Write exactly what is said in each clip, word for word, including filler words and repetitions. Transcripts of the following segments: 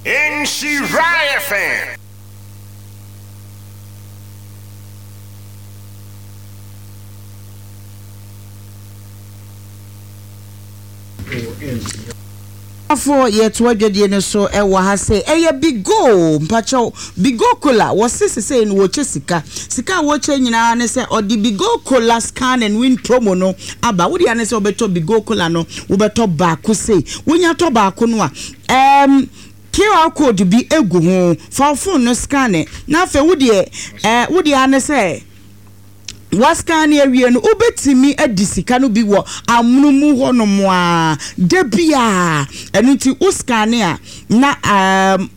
Nhyira F M. Afo yɛto adwadie no so ɛwɔ ha sɛ ɛyɛ Bigo. Mpakyɛw, Bigo Cola wɔse sesei no wɔkyɛ sika. Sika a wɔkyɛ nyinaa ne sɛ ɔde Bigo Cola Scan and Win promo no aba. Wode ane sɛ wobɛtɔ Bigo Cola no, wobɛtɔ baako sei, wonya tɔ baako no a, um, Q R code bi egu ho. Fa wo phone no scan na afei wodeɛ ɛɛ wodeɛ ane sɛ wascan ne awie no, wobɛtumi adi sika no bi wɔ amono hɔnom a da bia. Ɛno nti wo scan a na um,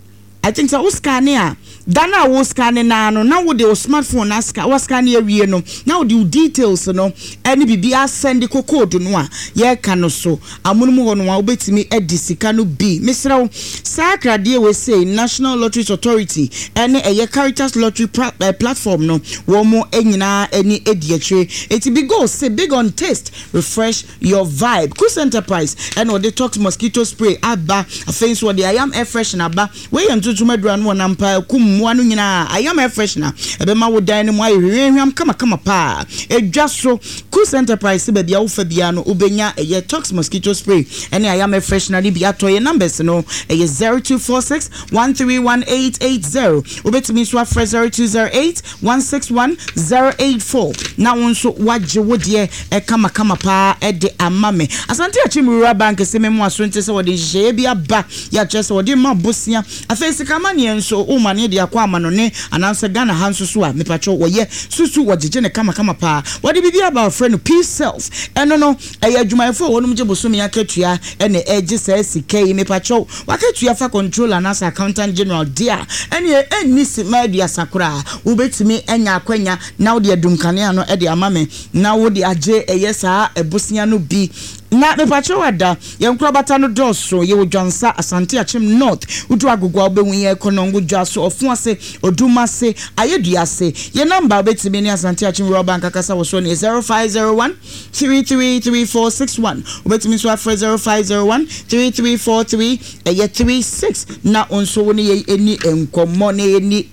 I think sɛ wo scan a, da no a wo scan naa no na wode wo smartphone na scan, wascan awie no na wode wo details no ɛne biribi asend kɔ code no a yɛreka no so. Amono mu hɔ no a wobɛtumi adi sika no bi. Mesrɛ wo, saa akradeɛ wei sei, National Lotteries Authority ɛne ɛyɛ Caritas Lottery pra, eh, platform no, wɔn mo nyinaa ani adi akyire. Eti Bigo say big on taste, refresh your vibe. Kus Enterprise ɛna ɔde Tox mosquito spray aba. Afei nso ɔde Ayam air freshener aba. Wei yɛ ntontom adura no wɔ nampa kum mmoa no nyinaa. Ayam air freshener ɛbɛma wo dan no mu ayɛ hwehwɛhwam kamakama paa. Edwa so Kus Enterprise, baabi a wofa biara no wobɛnya ɛyɛ Tox mosquito spray ɛne Ayam air freshener no bi atɔ. Yɛ numbers no ɛyɛ zero two four six one three one eight eight zero. Wobɛtumi nso afrɛ zero two zero eight one six one zero eight four na wo nso wagye wo deɛ ɛkamakama paa ɛde ama me. Asante Akyem Rural Bank sɛ memu aso nte sɛ wɔde nhyehyɛeɛ bi aba, yɛakyerɛ sɛ wɔde ma bosea. Afei sikamaneɛ nso woma ne de akɔ ama no ne anaasɛ Ghana ha nso so a, mepatwɛ, wɔyɛ susu wɔgyegye ne kamakama paa. Wɔde biribi aba, wɔfrɛ no Peace Self. Ɛno no ɛyɛ adwumayɛfoɔ a wɔnom gye bosome akatua ɛna ɛgye saa sika yi. Mepatwɛw, wakatua fa controller anaasɛ accountant general deɛ a, ɛneɛ ɛnni sima aduasa koraa, wobɛtumi anya akwanya na wode adum kanea no ɛde ama me na wode agye ɛyɛ saa ɛbosea no bi. Na mepatwɛw, ada yɛn nkorabata no dɔɔso. Yɛwɔ Dwansa, Asante Akyem North, wodu Agogo a wobɛhu yɛn, Kɔnɔngo dwa so, Ɔfo ase, Odum ase, Ayɛdua ase. Yɛn number a wobɛtumi ne Asante Akyem Rural Bank akasa wɔ so ne zero five zero one three three three four six one. Wobɛtumi nso afrɛ zero five zero one three three four three ɛyɛ three six na wo nso wo ne yɛn ani nkɔmmɔ na yɛni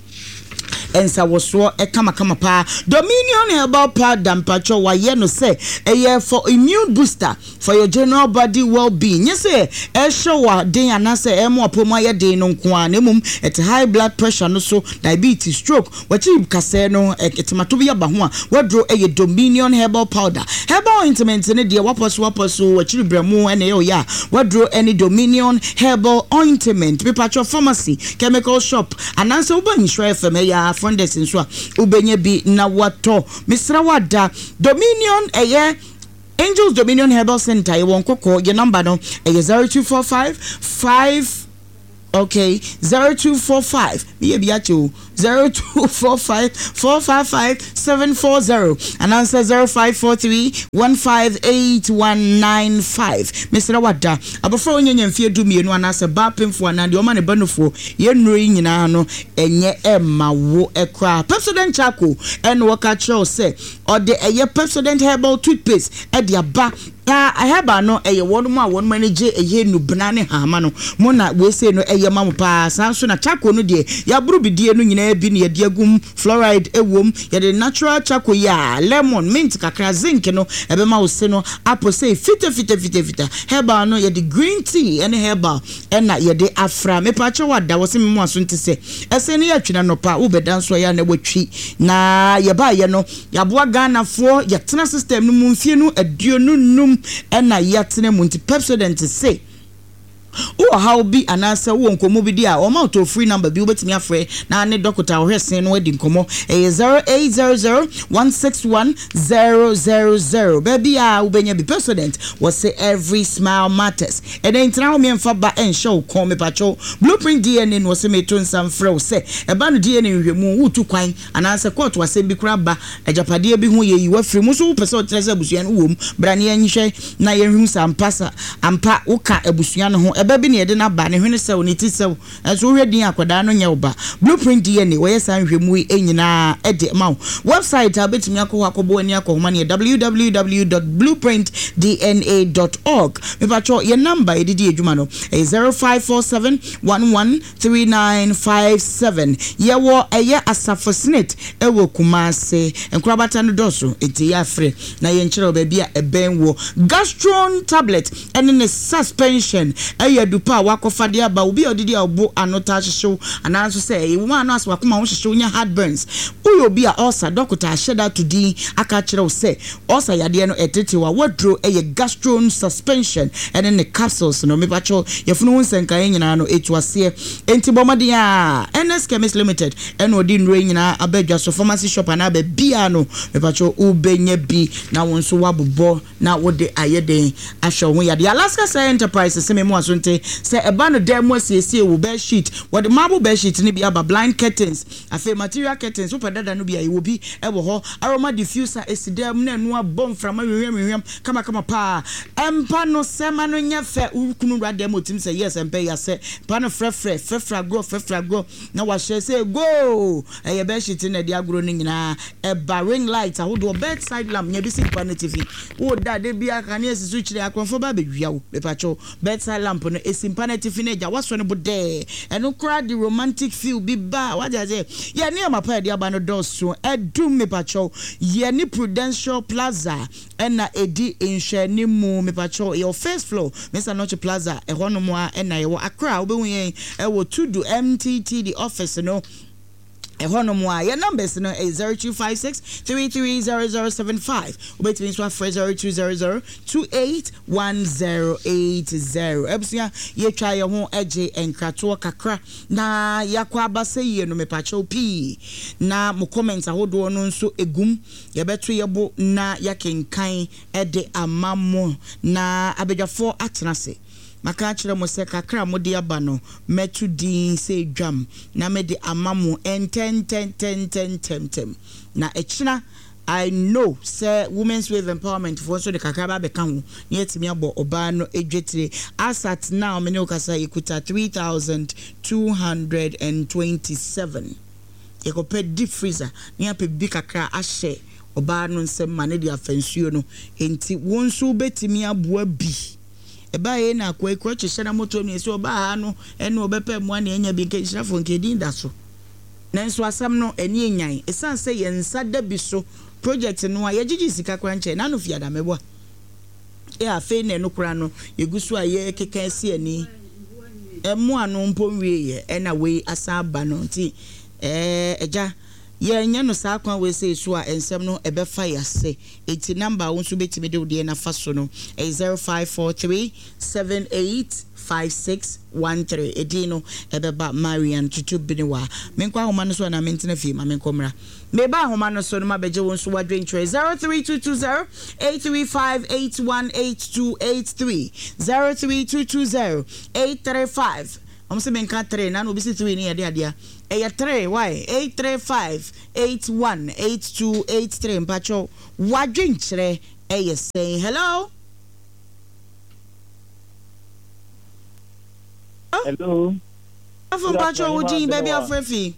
nsawɔsoɔ kamakama paa. Dominion Herbal Powder, mpatwɔ, wayɛ no sɛ ɛyɛ for immune booster, for your general body well-being. Nyɛ sɛ ɛhyɛ wɔ den anaasɛ ɛmo apɔ mu ayɛ den no nko ara, na mmom ɛte high blood pressure no so, diabetes, stroke, wɔkyi kasɛɛ no, ɛtemato bi aba ho a, waduro ɛyɛ Dominion Herbal Powder. Herbal ointment ne deɛ wapɔ so wapɔ so wɔkyiri brɛmo ɛna ɛyɛ ɔyɛ a, waduro ɛne Dominion Herbal Ointment. Mepatwɔ, pharmacy, chemical shop anaasɛ woba Nhyira F M ɛyɛ front desk nso a, wobɛnya bi na watɔ. Mesrɛ wada, Dominion ɛyɛ Angels Dominion Herbal Center, yɛwɔ Nkɔkɔ. Yɛ number no ɛyɛ zero two four five five, okay, zero two four five, meyɛ bi akyɛ o, zero two four five four five five seven four zero anaasɛ zero five four three one five eight one nine five. Mesrɛ wada, abɔfra a ɔnyɛ mfeɛ du mmienu anaasɛ baa pemfoɔ anaa deɛ ɔma ne ba nofoɔ, yɛn nnuro yi nyinaa no ɛnyɛ ɛma wo ɛkoraa. Pepsodent Charcoal ɛna wɔka kyerɛ wo sɛ ɔde ɛyɛ Pepsodent Herbal Toothpaste ɛde aba. Na herbal no ɛyɛ wɔn mu a wɔn ani gye ɛyɛ nubena ne hama no mo na weesei no ɛyɛ ma mo paa. Saa nso na charcoal no deɛ, yɛaboro bidie no nyinaa bi na yɛde agum, fluoride ɛwom. Yɛde natural charcoal yi a lemon, mint kakra, zinc no ɛbɛma wo se no apɔ sɛ fita fita fita fita. Herbal no yɛde green tea ɛne herbal ɛna yɛde afra. Mepaakyɛw, wada wɔ se memo aso nte sɛ ɛsɛ ne yɛatwena nɔpa wobɛda nso ɛyɛ a na watwi. Na yɛbaayɛ no, yɛaboa Ghanafoɔ, yɛtena system no mu mfie no aduonu num ɛna yɛatena mu. Nti Pepsodent se wowɔ haw bi anaasɛ wowɔ nkɔmmɔ bi di a, ɔma wo toll free number bi wobɛtumi afrɛ na ne dɔkota a ɔhwɛ sen no adi nkɔmmɔ. Ɛyɛ zero eight zero zero one six one zero zero zero. Baabi a wobɛnya bi, Pepsodent wɔsɛ every smile matters. Ɛnɛ ntena hɔ mmiɛmfa ba ɛnhyɛ wo kɔn. Mepatwɛw, Blueprint D N A no wɔsɛ meto nsa mfrɛ wo sɛ ɛba no D N A nhwehwɛmu, wotu kwan anaasɛ kɔɔto asɛm bi koraa ba, agyapadeɛ bi ho yɛyi wafiri mu nso, wopɛ sɛ ɔkyerɛ sɛ abusua no wɔ mu, bra ne yɛnhwɛ na yɛnhwɛ sɛ ampa sa ampa woka abusua no ho. Ɛbɛ bi na yɛde no aba, ne hwene sɛw, ne ti sɛw, ɛnso wohwɛ din akwadaa no nyɛ wo ba. Blueprint D N A wɔyɛ saa nhwɛmu yi nyinaa ɛde ma wo. Website a wobɛtumi akɔ hɔ akɔbɔ ani akɔhoma no yɛ W W W dot blueprint D N A dot org. Mepatwɔ, yɛ number yɛde di adwuma no ɛyɛ zero five four seven one one three nine five seven. Yɛwɔ ɛyɛ Asafo SSNIT ɛwɔ Kumase. Nkorabata no dɔɔso, nti yɛ afrɛ na yɛnkyerɛ wɔ baabi a ɛbɛn wɔ. Gastron tablet ɛne ne suspension ɛyɛ adupa a wakɔfa de aba. Obi a ɔdedi a ɔbo ano taa hyehyew, anaa nso sɛ ɛyɛ wɔn ano ase wakoma ho hyehyew, nya heartburns, woyɛ obi a ɔsa dɔkota ahyɛ da to din aka kyerɛ wo sɛ ɔsa yadeɛ no ɛtetew a, waduro ɛyɛ Gastron suspension ɛne ne capsules no. Mepakyɛw, yɛfunu ho nsɛnkaeɛ nyinaa no ɛtu aseɛ, enti bɔ mmɔden a N S Chemist Limited ɛna ɔde nnuro yi nyinaa aba adwa so. Pharmacy shop anaa baabia no, mepakyɛw, wobɛnya bi na wo nso woabobɔ na wode ayɛ den ahwɛ wo ho yadeɛ. Alaska Sɛ Enterprise sɛ me mu aso nte sɛ ɛba no dan mu asiesie wo bed sheet, wɔde marble bed sheet no bi aba, blind curtains, afei material curtains. Wopɛ dada no bi a, ɛwɔ bi ɛwɔ hɔ. Aroma diffuser esi dan mu na ɛno abɔ mframa hwehwɛm hwehwɛm kamakama paa. Ɛmpa no sɛma no nyɛ fɛ, wo kunu wura dan mu otim sɛ yes, ɛmpɛ yasɛ mpa no frɛfrɛ frɛfrɛ agorɔ frɛfrɛ agorɔ na wahyɛ sɛ go. Ɛyɛ bed sheet na ɛde agorɔ no nyinaa ɛba. Ring light ahodoɔ, bedside lamp, nya bi si mpa no tifi wo da de bi akanea si so kyerɛ akorɔmfoɔ ba abɛwia wo. Mepakyɛw, bedside lamp no esi mpa no atifi no agya wasɔ no bo dɛɛ, ɛno koraa de romantic feel bi ba. Wagye ase yɛ nneɛma pa yɛde aba no dɔɔso. Ɛdum, mepakyɛw, yɛ ne Prudential Plaza ɛna ɛdi nhwɛnimu. Mepakyɛw, yɛwɔ first floor, Mr Nɔkye Plaza ɛhɔnom a ɛna yɛwɔ Accra. Wobɛhu yɛn ɛwɔ Tudu M T T D office no ɛhɔnom a. Yɛ numbers no ɛyɛ zero two five six three three zero zero seven five. Wobɛtumi nso afrɛ zero two zero zero two eight one zero eight zero. Abusua, yɛtwa yɛn ho agye nkratoɔ kakra na yɛakɔ aba sɛ yie no. Mepakyɛw pii na mo comment ahodoɔ no nso egum, yɛbɛto yɛbo na yɛakenkan ɛde ama mo na abadwafoɔ atena ase. Maka akyerɛ mo sɛ kakra a mode aba no, mɛto din sɛ dwam na mede ama mo ntɛntɛntɛntɛntɛntɛm. Na ɛkyena I know sɛ Women's Wave Empowerment foɔ nso de kakra ba abɛka ho na yɛatumi abɔ ɔbaa no dwetire. As at now, me ne wo kasa, yɛkuta three thousand two hundred and twenty-seven. Yɛkɔpɛ deep freezer na yɛapɛ bibi kakra ahyɛ ɔbaa no nsɛm ma ne de afa nsuo no. Nti wo nso wobɛtumi aboa bi. Ɛbaa yɛ na akoa ekura kyehyɛ na moto mi sɛ ɔbaa ha no ɛne ɔbɛpɛ mmoa na ɛnya bi nka nhyirafoɔ nka edin da so. Nanso asɛm no ɛni enyan, esan sɛ yɛn nsa da bi so project no a yɛgyegye sika kora nkyɛn n'ano fi adamɛboa ɛ. Afei na ɛno kora no yɛgu so a yɛkeka asi ani ɛmoa no mpo nwie yɛ ɛna wei asan aba no. Nti ɛɛ ɛgya yɛnyɛ no saa kwan wei sɛ so a nsɛm no ɛbɛfa yɛase. Eti number a wo nso bɛtumi de wo deɛ nafa so no ɛyɛ zero five four three seven eight five six one three. Edin no ɛbɛba Marian Tutu Benewa. Menkɔ ahoma no so anaa mentena fie ma menkɔ mmra? Meba ahoma no so no ma bɛgye wo nso wadwentwerɛ. zero three two two zero eight three five eight one eight two eight three, zero three two two zero eight three five. Ɔmo sɛ menka three na na obi si three ne yɛde adeɛ ɛyɛ three why eight three five eight one eight two eight three. Mpakyɛw, wadwenkyerɛ ɛyɛ sɛn? Hello? Hello. Afɔ, mpakyɛw, wo din, baabi afrɛ fi?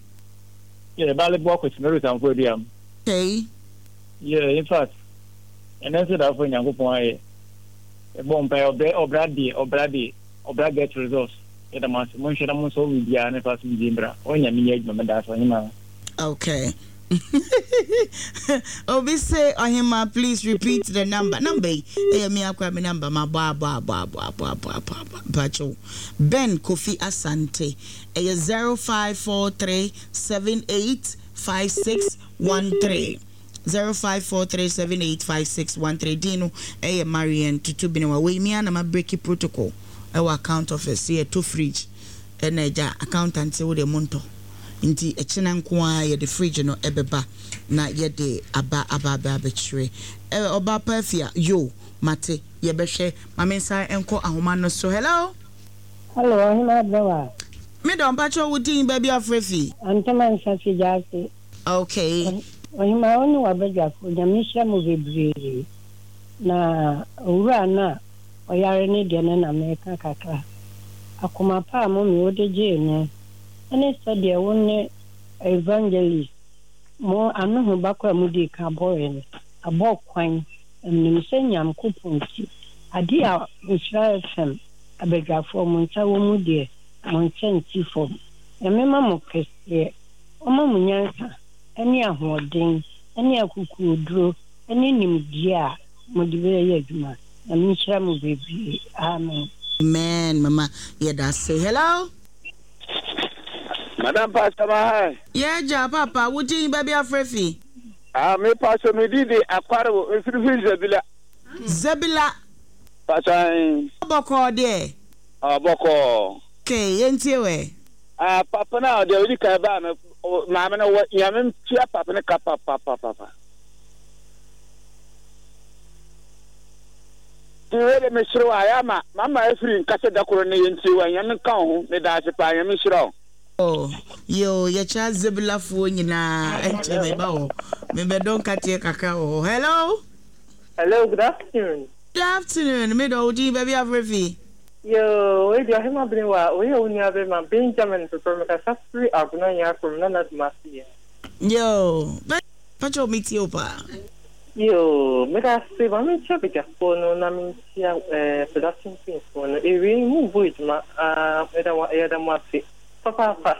Yeah, Bale Bɔ Kwesi Mary Sanfo Aduam. Okay. Yeah, in fact, ɛnɛ nso da afɔ Nyankopɔn ayɛ. Ɛbɔ mpa ɔbrɛ ɔbra deɛ ɔbra deɛ ɔbra get results. Yɛda mo ase, monhwɛ na mo nso biribiara ne fa so biribi mbra. Ɔnyɛ me nyɛ adwuma mɛda ase, ɔhema. Okay. Obi say, "Ohima, please repeat the number." Number yi, ɛyɛ me akora me number ma bɔ abɔ abɔ abɔ abɔ abɔ abɔ abɔ. Mpakyɛw. Ben Kofi Asante. Ɛyɛ zero five four three seven eight five six one three. Zero five four three seven eight five six one three. Din no ɛyɛ Marian Tutu Benewa. Wei mi ana ma break protocol ɛwɔ account office yɛ to fridge ɛna ɛgya accountant sɛ wo deɛ mo ntɔ. Nti ɛkyena nko ara yɛde fridge no ɛbɛba na yɛde aba aba aba abɛkyerɛ ɛ ɔba pa afia yo mate. Yɛbɛhwɛ maame nsa nkɔ ahoma no so. Hello? Hello, Ɔhema Abɛwa. Me dɔ, mpakyɛ, wo din, baabi afrɛ fi? Antoma Nsase Gyaase. Okay. Ɔhema, wo ne w'abadwafo, Nyame nhyira mo bebree. Na owura no a ɔyare ne deɛ no na meka kakra. Akoma pa a mummy wode gyee no ɛne sɛdeɛ wo ne evangelist mo ano ho bakɔ a mudi ka bɔɔɛ no abɔ kwan. Menim sɛ Nyankopɔn nti ade a Nhyira F M abadwafoɔ mo nsa wɔ mu deɛ, mo nsa nsi fam. Nyame ma mo kɛseɛ, ɔma mo nyansa ne ahoɔden ne akokoɔduro ne nimdeɛ a mode bɛyɛ adwuma. Nyame nhyira mo bebree. Amen. Amen, mama, yɛda ase. Hello. Madam Pastor Mahai. Yɛgya papa, wodin, baabi afrɛ fi? Ah, me pastor, me di de akware wo mfirifiri Zebila. Zebila. Pastor. Bɔkɔɔ deɛ? Ah, bɔkɔɔ. Okay, yɛntie wɛ. Ah, papa na ɔde odi kan ba no, maame no wɔ Nyame ntua papa no ka papa papa papa. Ti wei de mesere wo ayɛ ama mama afiri nkasa da koro ne yɛntie wa. Nyame nka wo ho. Meda ase paa, Nyame nhyira wo. Oh, yo, yɛkyerɛ Zebilafoɔ nyinaa. Ɛnkyɛ meba hɔ, mebɛdɔ nkateɛ kakra wɔ hɔ. Hello. Hello, good afternoon. Good afternoon, medɔ, wo din, baabi afrɛ fi? Yo, wei deɛ ɔhema bene wa, wei yɛ wo nua bɛma Benjamin Pepper, mekasa firi Agona Nyakrom na Nadumase yɛ. Yo, pakyɛ, metie wo paa. Yo, meda ase. Ma menkyia badwafoɔ no na menkyia eh, production teamfoɔ no. Ewie mu bɔ adwuma, ah, meda mo, yɛda mo ase papaapa.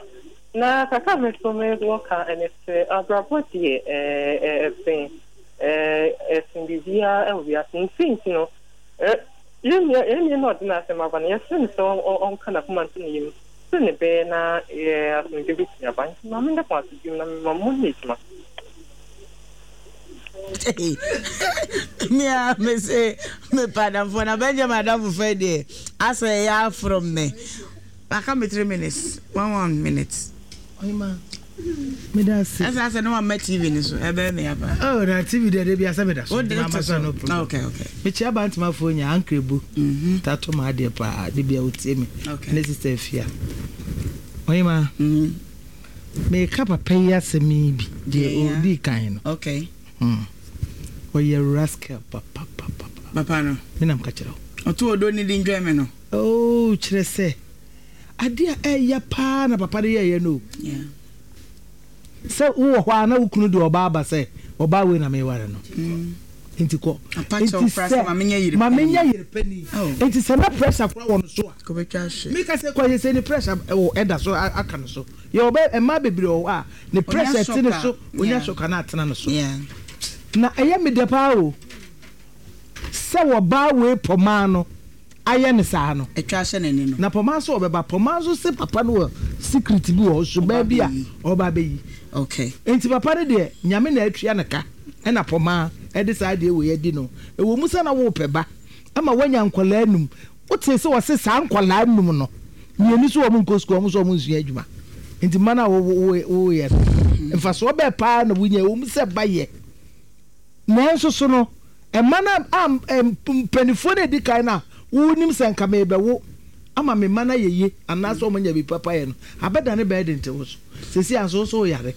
Na kakra me so mewɔ ka ɛne sɛ abrabɔ deɛ eh, eh, ɛsen eh, ɛsen biribiara ɛwɔ wiase. Nti nti no, eh, yɛn nua yɛn nua na ɔde n'asɛm aba no, yɛsrɛ no sɛ ɔn- ɔn- ɔnka n'akoma nto ne yam sɛ ne bɛyɛ na eh, asomdwe bɛtumi aba. Nti ma menda mo ase biom na mema mo nyɛ adwuma. Mea me se mepa adamfoɔ na Benjamin adamfo fɛ deɛ asɛ ɛyɛ aforo me aka me three minutes, one one minute. Ɔhema, meda ase. Ɛsɛ asɛ ne wamma T V ne so ɛbɛyɛ me aba. Oh, na T V deɛ de bi asɛ meda so. Wode Nti to mama so. No problem. okay okay Mekyia Bantamafoɔ nya Ankrɛbu Mhm. tato ma adeɛ paa de bia wotie me Okay. ne sister Afia. Ɔhema, Mhm. meka papa yi asɛm yi bi deɛ Yeah. ɔdii kan no. okay Hmm. Ɔyɛ rascal papapapa. Papa no. Menam ka kyerɛ wo. Ɔto odo ne di ndwɛn me no. Oh, kyerɛ sɛ adeɛ a ɛyɛ paa na papa no yɛɛyɛ no o. Yeah. Sɛ wowɔ hɔ a na wo kunu de ɔbaa ba sɛ ɔbaa wei na meware no Mm. nti kɔ. Apa kyɛw koraa sɛ ma menyɛ yere ma panin. menyɛ yere pani. Oh. Nti sɛ na pressure koraa wɔ no so a, kɔbɛtwa ahwe. Meka sɛ kɔ yɛ sɛ ne pressure ɛwɔ ɛda so a- aka no so yɛ ɔbɛ mmaa bebree wɔ hɔ a ne pressure te ne shock a, so onya yeah. shock na atena no so. Yeah. Na ɛyɛ me dɛ paa o sɛ wɔbaa wei pɔmaa no ayɛ ne saa no. Atwa ahyɛ n'ani no. Na pɔmaa nso ɔbɛba, pɔmaa nso se papa no wɔ secret bi wɔ hɔ, suban bi a bɛyi. Ɔba bɛyi. Okay nti papa no deɛ, Nyame na atua ne ka ɛna pɔmaa ɛde saa deɛ wei adi no. Ɛwɔ mu sɛ na wopɛ ba ama woanya nkɔlaa num. Wote sɛ wɔse saa nkɔlaa num no mmienu so wɔn nkɔ sukuu, wɔn nso wɔn nsua adwuma. Nti mma no a woyɛ no, mfasoɔ bɛɛ paa na wonya? Ɛwɔ mu sɛ ba yɛ, nanso so no ɛma no a mpanimfoɔ no edi kan no a wonim sɛ nka mebɛwo ama me mma no ayɛ yie anaasɛ wɔn anya bi papa yɛ no abɛda ne bɛyɛ de nte wo so sɛsi anso nso woyare.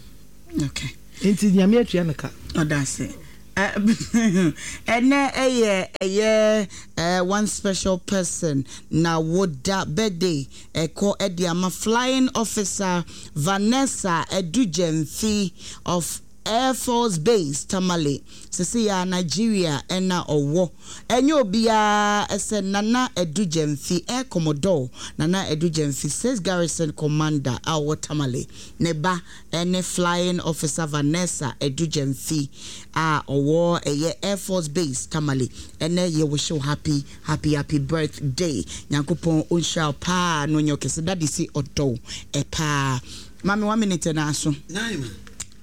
Okay nti Nyame atua no ka. Ɔda ase. Ɛnɛ ɛyɛ ɛyɛ ɛɛ one special person na woda birthday ɛkɔ ɛde ama Flying Officer Vanessa Edugyemfi of Air Force Base Tamale. Sisi ya Nigeria ɛna ɔwɔ. Ɛnyɛ obiara ɛsɛ Nana Edugyemfi, Air Commodore Nana Edugyemfi, Six Garrison Commander a ɔwɔ Tamale, ne ba ɛne Flying Officer Vanessa Edugyemfi a ɔwɔ ɛyɛ Air Force Base Tamale. Ɛnɛ yɛ wish you happy, happy, happy birthday. Nyankopɔn ɔnhyira wo paa na ɔnyɛ ɔkɛse. Daddy si ɔdɔw ɛpaa. Maame, one minute na aso. Nine.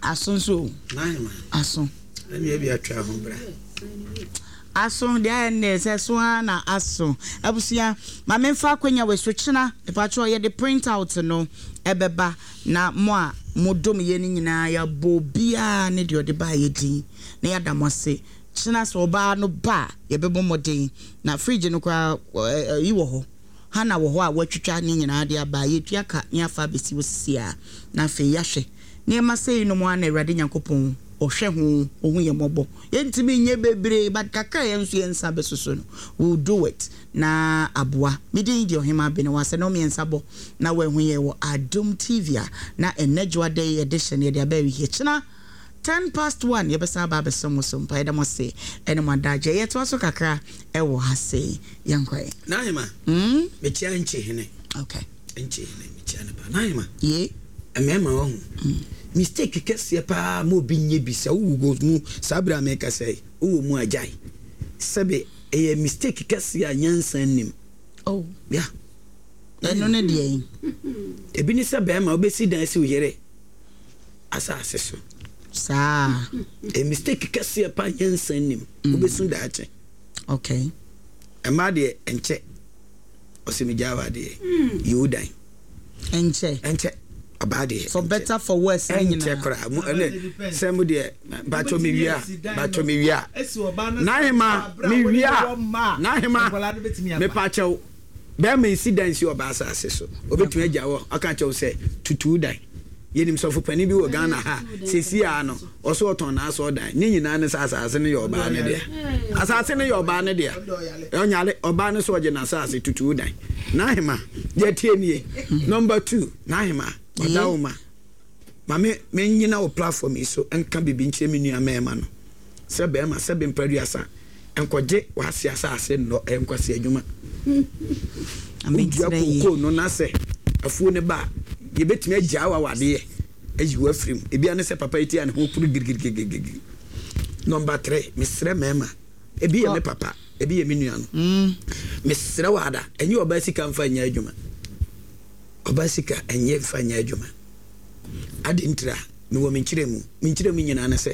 Aso nso o. Nine. Aso. Ɛni ebi atwa ho bra. Aso deɛ ayɛ nnɛ sɛ so ara na aso. Abusua, maame, mfa akonnwa wɔ so kyena mepatwerɛ yɛde print out no ɛbɛba na mo a modom yɛ no nyinaa, yɛabɔ obiara ne deɛ ɔde baa yɛ din na yɛada mo ase. Kyena sɛ ɔbaa no ba a, yɛbɛbɔ mmɔden na fridge no koraa yi wɔ hɔ hana wɔ hɔ a wɔatwitwa ne nyinaa de aba. Yɛtua ka ne afa abɛsi wɔ sisi a na afei yɛahwɛ nneɛma sɛyi no mu a na Awurade Nyankopɔn Ɔhwɛ ho, ɔhu yɛ mmɔbɔ. Yɛntumi nyɛ bebree, but kakra yɛn nso yɛn nsa bɛsoso no, we will do it na aboa. Me din deɛ Ɔhema Abene wɔ asɛ na ɔmmiɛnsa bɔ na wɔahu yɛ wɔ Adom T V a na ɛnɛ dwoada yi edition yɛde aba awie. Kyena ten past one yɛbɛsan aba abɛsɛ mo so mpa. Yɛda mo ase ɛne mo adagye. Yɛtoa so kakra ɛwɔ ha sei, yɛnkɔ. N'ahema. Mm? Mekyia nkye hene. Okay. Nkye hene, mekyia ne pa. N'ahema. Ye. Mmarima wɔ ho mistake kɛseɛ paa ma obi nye bi sɛ wowɔ go mu saa berɛ a meka sɛ wowɔ mu agyae sɛbe ɛyɛ mistake kɛseɛ a nyansa nnim. Oh. Ya. Ɛno ne deɛ yi. Ebi ne sɛ bɛrima wobɛsi dan si wo yere asase so. Saa. Ɛyɛ mistake kɛseɛ paa, nyansa nnim, wobɛsu daakye. Okay. Ɛma deɛ ɛnkyɛ ɔsɛ megyaa wɔ adeɛ yi wo dan. Ɛnkyɛ. Ɛnkyɛ, ɔbaa deɛ. For better for worse ne ɛnkyɛ nyinaa. Koraa mo ɛnɛ sɛ mo deɛ batwɔ mi wia, batwɔ mi wia n'ahema mi wia n'ahema mepa kyɛw, bɛrima esi dan si ɔbaa asase so, obetumi agya wɔ ɔka kyɛw sɛ tutu dan. Yɛnim sɔfo panin bi wɔ Ghana ha sesi a no ɔso ɔtɔn n'asɔ dan ne nyinaa ne sɛ asase no yɛ ɔbaa ne deɛ, asase no yɛ ɔbaa ne deɛ, ɔnyare ɔbaa no so ɔgye n'asase tutu dan. N'ahema deɛ tie nie, number two, n'ahema ɔda wo ma maame menyina wo platform yi so nka biribi nkyerɛ me nua mmarima no sɛ bɛrima sɛ bɛmpa nkɔgye w'ase asase nnɔ, ɛyɛ nkwasi adwuma. Wodua kookoo no na sɛ afuo no ba a, yɛbɛtumi agyaa wa wadeɛ ayi wo afiri mu. Ebia ne sɛ papa yi ti a ne ho puru girigirigirigiri. Number three, mesrɛ mmarima, ebi yɛ me papa, ebi yɛ me nua no, mesrɛ wɔ ada, ɛnyɛ ɔbaa sika mfa nyɛ adwuma, ɔbaa sika ɛnyɛ mfa nyɛ adwuma. Ade ntira mewɔ me nkyerɛ mu, me nkyerɛ mu nyinaa ne sɛ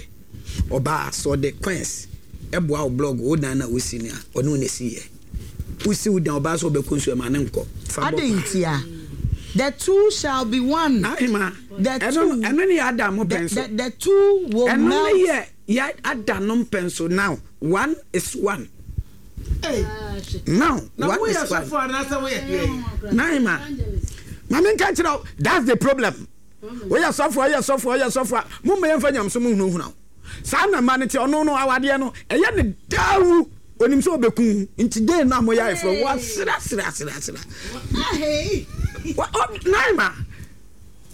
ɔbaa sɛ ɔde coins ɛboa wo blog wo dan na wosi no a, ɔne wo na esi yɛ wosi wo dan. Ɔbaa sɛ ɔbɛkɔ nsuo ɛma ne nkɔ fa bɔ. Ade ntia. The two shall be one. Ahema. The ɛno two. Ɛno ne yɛ ada mo The, pɛn so. the, the two will ɛno melt. ne yɛ yɛ ada no mpɛn so. Now one is one. Now na one woyɛ is one. sɔfo anaasɛ woyɛ deɛ? Naima, maame nka kyerɛ wo, that's the problem. Woyɛ sɔfo, woyɛ sɔfo, woyɛ sɔfo a momma yɛmfa nyamso mu hunahuna wo saa na ma no te. Ɔno no awadeɛ no ɛyɛ ne daawu, onim sɛ ɔbɛku nti den no a moyɛ ayeforɔ wasrasrasrasra. Naima,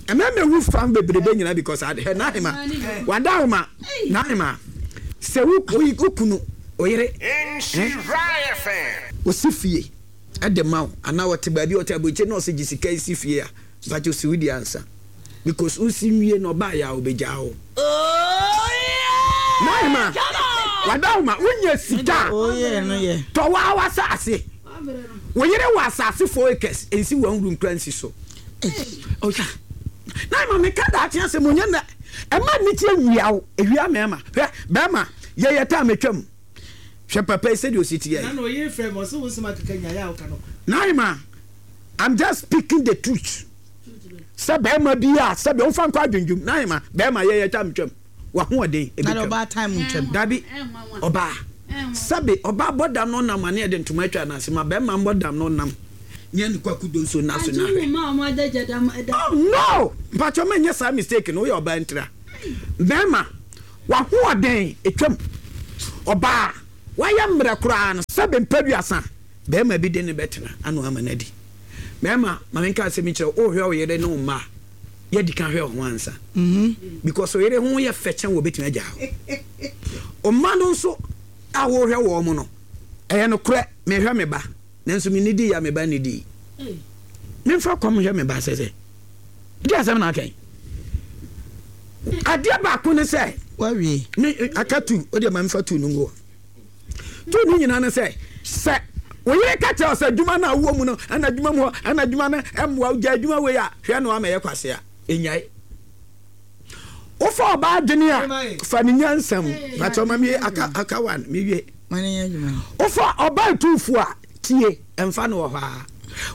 ɛmɛmɛ wu fam bebrebe nyina because ade hɛ. Naima, wada wo ma. Naima, sɛ wo wo kunu oyere osi fie ɛde ma wo anaa ɔte baabi ɔte aburokye na ɔsɛ gye sika esi fie a, mpakyɛ osi wo di ansa because wosi nwie na ɔbaa yɛ a ɔbɛgyaa wo. Naima, wada wo ma wonya sika. Oh yeah, no yeah. Tɔ waa w'asase, wo yere wɔ asase four acres nsi wɔn wuru nkura nsi so ɔya. Naima, meka daakye asɛm onyɛ nɛ ɛma ne tie nwia wo ewia. Mɛɛma hwɛ, bɛɛma yɛyɛ taa metwam hwɛ papa yi sɛdeɛ osi teɛ yi. Na na ɔyɛ fɛ ma ɔsɛ wo nsɛm akeka nyaeɛ a woka no. Naima, I'm just speaking the truth sɛ bɛrima bi a sɛbi ɔnfa nkɔ adwendwem. Naima, bɛrima yɛyɛ taa metwam wahoɔden Na ebetwam. ɔbaa time ntwam. Dabi, ɔbaa sɛbi ɔbaa bɔ dam no nam ane yɛde ntoma atwa n'ase ma bɛrima mbɔ dam no nam nyɛ ne kwaku do nso na so na hwɛ. Oh no, mpatwɔ mɛ nyɛ saa mistake no. Woyɛ ɔbaa ntira, bɛrima wahoɔden etwam, ɔbaa wayɛ mmerɛ koraa no sɛbi mpɛduasa bɛrima bi de ne bɛtena ano ama no adi. Bɛrima, maame nka asɛm kyerɛ wo, wohwɛ wo yere ne wo mma a, yɛdi ka hwɛ wo ho ansa because wo yere ho yɛ fɛ kyɛn wɔ bɛtumi agya wo. Ɔma no nso a wohwɛ wɔ mo no ɛyɛ nokorɛ. Mehwɛ me ba nanso me nidi ya me ba nidi memfa kɔm hwɛ me ba sɛ sɛ di asɛm na akɛn adeɛ baako ne sɛ Wawie. Me aka tu o deɛ, ma mefa tu no ngu hɔ. Tu no nyinaa ne sɛ sɛ wo yere ka kyerɛ wo sɛ adwuma no a wowɔ mu no ɛna adwuma mu hɔ ɛna adwuma no ɛmmoa wo, gya adwuma wei a, hwɛ no ama ɛyɛ kwase a ɛnyae. Wofa ɔbaa adwene a fa ne nyansa mu bakyɛ ɔma mie aka aka one mewie. Ma ne nyɛ adwuma. Wofa ɔbaa tuufu a tie ɛmfa no wɔ hɔ a,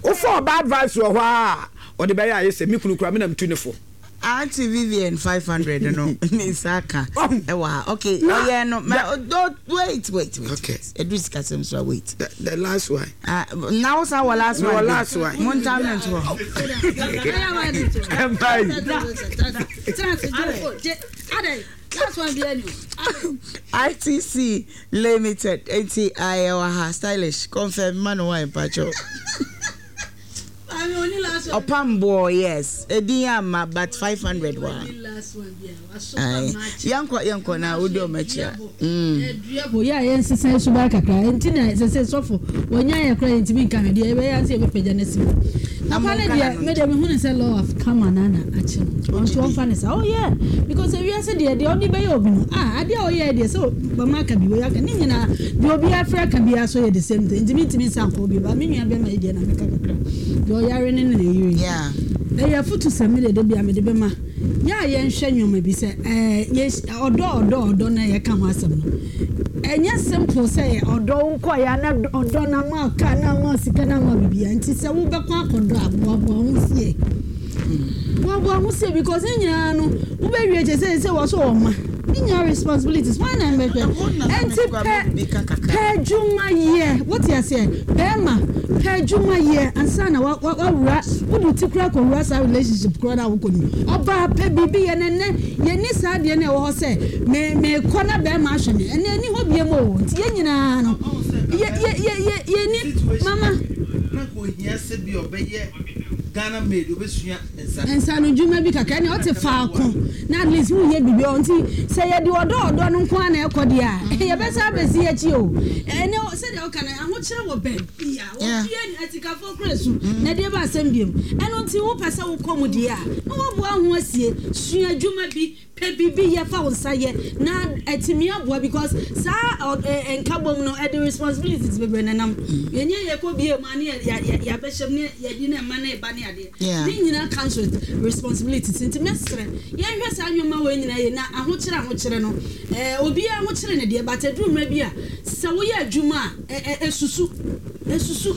wofa ɔbaa advice wɔ hɔ a ɔde bɛyɛ ayɛ sɛ me kunu kora me na metu ne fo. Auntie Vivian five hundred no ne nsa aka ɛwɔ ha. Okay, Na- ɔyɛ no ma oh, wait, wait, wait. Okay. Edu sikasɛm so a, wait. the, the last one. Ah, na wo san wɔ last No, one. last one. Mo ntam ne nto hɔ. Ɛmpa yi. Last one bi ɛni o. I T C Limited eti ayɛ wɔ ha. Stylish confirm ma no wine pacho. Maame oni last one. Ɔpamboɔ, yes, edin ama but five hundred wa. Oni last one bi a waso. Ayi, yɛnkɔ, yɛnkɔ na wodi ɔmo akyi a. Mm. Bo yɛ a yɛnsesa suban kakra nti na sɛ sɛ sɔfo wɔnya yɛ kora yɛntumi nka hwɛ deɛ yɛbɛyɛ ansa yɛbɛpagya no asi mu. Na papa no monka deɛ n'ano. Me deɛ, mehu ne sɛ law of karma na na akye no. Ɔnso ɔmfa ne sa. Oh yeah, because ewiase deɛ, deɛ ɔde bɛyɛ obi no, ah, adeɛ a ɔyɛ deɛ sɛ bama aka bi wɔyɛ aka ne nyinaa deɛ obi afrɛ aka biara so yɛ the same thing, nti mentumi nsa nkɔ obi ba. Me nua bɛma yi deɛ na meka kakra deɛ ɔyare ne ne ne yere. Yeah. Ɛyɛ afotu sɛ mede de bia mede bɛma yɛ a yɛnhwɛ nneɛma bi sɛ ɛɛ yɛ ɔdɔ ɔdɔ ɔdɔ na yɛka ho asɛm no, ɛnyɛ simple sɛ ɔdɔ nkɔ yɛ na ɔdɔ na ma kaa na ma sika na ma bibia. Nti sɛ wobɛkɔ akɔdɔ a, boaboa ho sie, boaboa ho sie, because ne nyinaa no wobɛwie kyɛ sɛ sɛ wɔ so wɔ ma ne nyinaa responsibilities wɔn na mbɛhwɛ. Ɛnti pɛ pɛ adwuma yɛ, wote aseɛ? Bɛrima, pɛ adwuma yɛ ansa na wa wa wawura wode ti kura kɔwura saa relationship kura na wokɔ no. Ɔbaa, pɛ biribi yɛ. Nɛnɛ yɛni saa adeɛ no ɛwɔ hɔ sɛ me mekɔ na bɛrima ahwɛ me, ɛnɛ ɛni hɔ biem o. Nti yɛn nyinaa no yɛ yɛ yɛ yɛ yɛni mama. Na nka ohia sɛ bi ɔbɛyɛ Ghana maid, obɛsua nsa. Nsano dwuma bi kakra ne ɔte faako na at least woyɛ biribi ɔ. Nti sɛ yɛde ɔdɔ ɔdɔ no nko a na ɛkɔ deɛ a, yɛbɛsa abɛsi akyi o. Ɛnɛ sɛdeɛ woka no, ahokyerɛ wɔ baabi a obia ni atikafoɔ kora su na deɛ ba asɛm biom. Ɛno nti wopɛ sɛ wokɔ mu deɛ a, na woaboa ho asie, sua adwuma bi, pɛ biribi yɛ, fa wo nsa yɛ na atumi aboa, because saa ɔ- ɛ- ɛ, nkabom no ɛde responsibilities bebree nenam. Yɛnyɛ yɛkɔ bie mu a ne yɛ- yɛ- yɛ- yɛabɛhyɛm ne yɛde ne ɛma ne ɛba ne adeɛ. Yeah. Ne nyinaa comes with responsibilities, nti mɛsrɛ yɛnhwɛ saa nneɛma wɔ nyinaa yɛ na ahokyerɛ ahokyerɛ no, ɛɛ obiara ahokyerɛ ne deɛ, but aduru mmerɛ bi a sɛ woyɛ adwuma a, ɛ ɛ esusu esusu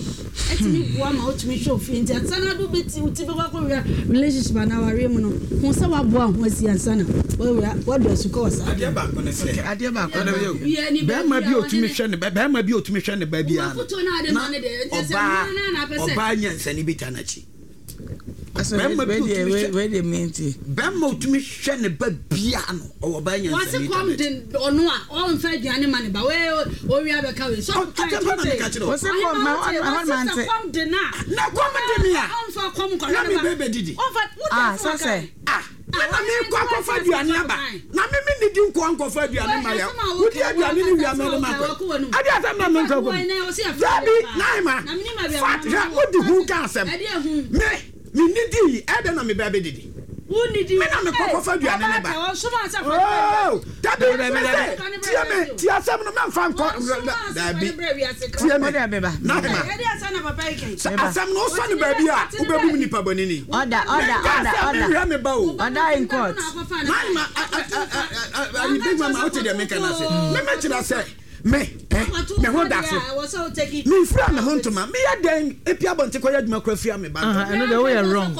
ɛtumi boa ma wotumi hwɛ ofie. Nti ansa na ado bɛti wo ti bɛkɔ akɔwura relationship anaa awareɛ mu no ho sɛ woaboa ho asi ansa na woawura woadu asukɔ wɔ saa. Adeɛ baako ne sɛ adeɛ baako. Obiara ni bɛrima baabi bi a a otumi ɔne ne- hwɛ ne ba, bɛrima bi a otumi hwɛ ne ba biara no Afotuo no a ade ma no deɛ, nti sɛ ɔbaa mmaa no na apɛ sɛ- ɔbaa nyansani bi ta n'akyi. Aso Bɛrima bi wei deɛ otumi wei hwɛ wei deɛ mi nti. Bɛrima otumi hwɛ ne ba biara no, ɔwɔ ɔbaa wɔse nyansani ta kɔm n'akyi. de ɔno a ɔmfa aduane ma ne ba wei owia bɛka wei so. Ɔ- asɛm pa na meka kyerɛ wo. Wɔse kɔm ma hɔ hɔ ma nte. Kɔm de no a Na kɔm de me a ɔmfa kɔm nkɔhwɛ na ne me ba. bɛ bɛdidi. Ɔmfa Ah, sɛ sɛ. Ah, me na mekɔ akɔfa aduane aba na me me nidi nkɔ nkɔfa aduane ma yɛ wodi aduane ne wia mɛde ma kɔ ade asɛm na menkɔ kɔ dabi naima fat hwɛ wodi hu ka asɛm me me nidi ɛdɛ na me bɛ bɛdidi. Wonidi. Me na mekɔ kɔfa aduane ne ba. Oh, dabi, mese tie me, tie asɛm no, mɛmfa nkɔ dabi, tie me Wode abeba. Naima, sɛ asɛm no wosɔ ne baabi a wobɛbu me nipa bɔne ni. Order, order, order, order. Mehwɛ me ba o. Order in court. Naima, ayi big mama, wote deɛ meka no ase, memɛkyerɛ sɛ me eh, me ho da so, memfira me ho ntoma, meyɛ dɛn ɛpia abɔnte kɔyɛ adwuma kora fira me ba ntoma. Ɛno deɛ woyɛ wrong.